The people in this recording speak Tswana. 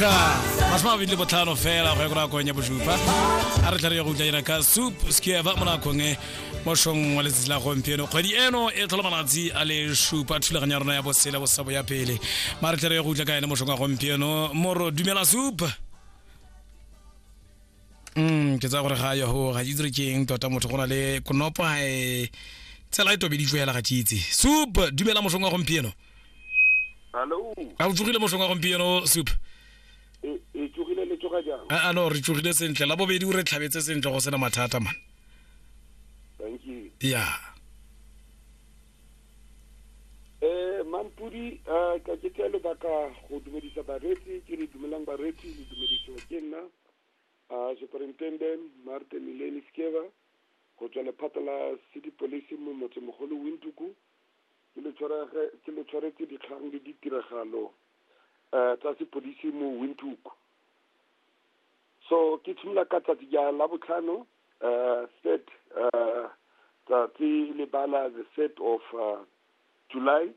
25 fela go ya ko nakong ya bosupa. A re tlhare ya go utlwa ena ka Soup Skeeva mo nakong e mošong wa letsatsi la gompieno. Kgwedi eno e tlhola malatsi a le supa, thulaganyo ya rona ya bosele bosabo ya pele. Ma re tlhare ya go utlwa ka ene mošong wa gompieno. Moro, dumela Soup. Ke tsaya gore ga yo ga ke itse gore ke eng tota, motho go na le konopo ga e tsela e tobeditswe hela, ga ke itse. Soup, dumela mošong wa gompieno. Hallo. A o tsogile mošong wa gompieno, Soup? E tsogile, le tsoga jang? A no, re tsogile sentle. La bobedi o re tlhabetse sentle go sena mathata man. Thank you. Ya. Mampudi, ka ke tsaya lebaka go dumedisa bareetsi, ke re dumelang bareetsi, le dumedisiwa ke nna Superintendent Martin Mileni Skeva go tswa lephata la City Police mo motsemogolo Windhoek. Ke le tshwarege ke le tshwaretse dikgang le ditiragalo tsa sepodisi mo Windhoek. So ke tshimolola ka tsatsi ja Labotlhano, third, tsatsi le bala the 3rd of July.